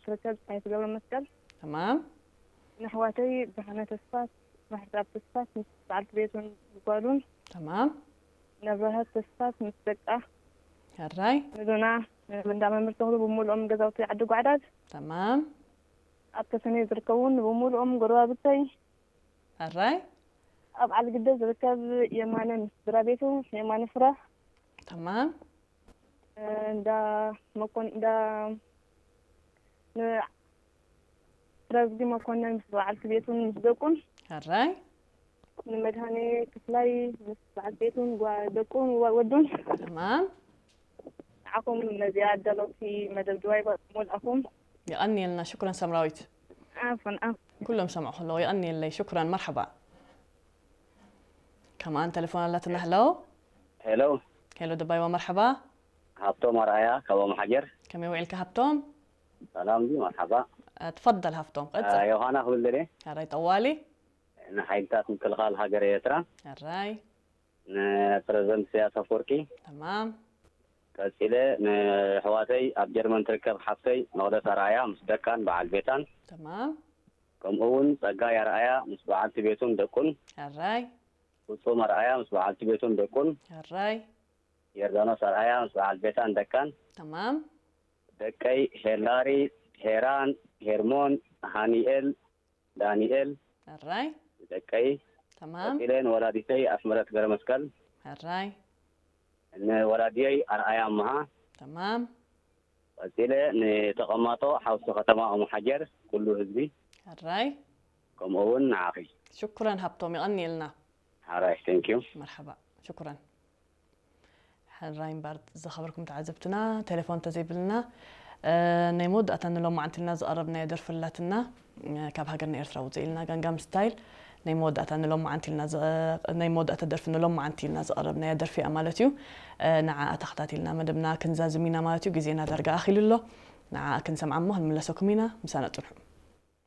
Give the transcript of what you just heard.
ትርከብ ፀሓይቱ ገብረ መስቀል። تمام ንኣሕዋተይ ብርሃነ ተስፋስ፣ ማሕዛብ ተስፋስ ምስ በዓልቲ ቤቱን ጓሉን፣ تمام ነብረሃት ተስፋስ ምስ ደቃ፣ ሕራይ ንዶና እንዳ መምህር ተኽሉ ብምሉኦም ገዛውቲ ዓዲ ጓዕዳድ፣ تمام ኣብ ተሰነይ ዝርከቡን ብምሉኦም ጎረባብተይ፣ ሕራይ ኣብ ዓልግደ ዝርከብ የማነ ምስ ስድራ ቤቱ፣ የማነ ፍረ تمام እንዳ መኮን እንዳ ን- ረዝጊ መኮነን ምስ በዓልቲ ቤቱን ምስ ደቁን፣ ሕራይ ንመድሃኔ ክፍላይ ምስ በዓልቲ ቤቱን ጓ- ደቁን ወ- ወዱን፣ تمام ንዓኹም ነዚኣ ኣዳለውቲ መደብ ድባይ ሞልኣኹም የቐንየልና ሽኩረን ሰምራዊት ኣፍን ኣፍ ኩሎም ሰምዑ ከለዉ የቐንየለይ ሽኩረን መርሓባ ከማን ተሌፎን ኣላትና ሄሎ ሄሎ ሄሎ ደባይዋ መርሓባ ሃብቶም ኣርኣያ ካብ ኦምሓጀር ከመይ ውዒልካ ሃብቶም ሰላም ዲ መርሓባ ትፈደል ሃብቶም ቀጽል ዮሃና ክብል ደልየ ሕራይ ጠዋሊ ንሓይልታት ምክልኻል ሃገር ኤርትራ ሕራይ ንፕረዚደንት ኢሳያስ ኣፈወርቂ ተማም ቀፂለ ንሕዋተይ ኣብ ጀርመን ትርከብ ሓፍተይ መቕደስ ኣርኣያ ምስ ደቃን በዓል ቤታን ተማም ከምኡ እውን ፀጋይ ኣርኣያ ምስ በዓልቲ ቤቱን ደቁን ሕራይ ፍፁም ኣርኣያ ምስ በዓልቲ ቤቱን ደቁን ሕራይ ዮርዳኖስ ኣርኣያ ምስ በዓል ቤታን ደቃን ተማም ደቀይ ሄላሪ ሄራን ሄርሞን ሃኒኤል ዳኒኤል ሕራይ ደቀይ ተማም ቀፂለ ንወላዲተይ ኣስመረት ገረመስቀል ሕራይ ንወላዲየይ ኣርኣያ ኣምሃ ተማም ቀፂለ ንተቐማጦ ሓውሲ ከተማ ኦምሓጀር ኩሉ ህዝቢ ሕራይ ከምኡ እውን ንዓኺ ሽኩረን ሃብቶም የቐንየልና ሓራይ ቴንኪዩ መርሓባ ሽኩረን ሕራይ እምበር ዝኸበርኩም ተዓዘብትና ቴሌፎን እንተዘይብልና እ፣ ናይ መወዳእታ ንሎማዓንቲ ኢልና ዝቐረብናዮ ደርፊ ኣላትና እ፣ ካብ ሃገርና ኤርትራ ውፅእ ኢልና ጋንጋም ስታይል ናይ መወዳእታ ንሎማዓንቲ ኢልና ዝቐ- ናይ መወዳእታ ደርፊ ንሎማዓንቲ ኢልና ዝቐረብናዮ ደርፊ እያ ማለት እዩ እ፣ ንዓኣ ተኸታቲልና መደብና ክንዛዝም ኢና ማለት እዩ ግዜና ዳርጋ ኣኺሉ ኣሎ ንዓኣ ክንሰምዓ እሞ ክንምለሰኩም ኢና ምሳና ፅንሑ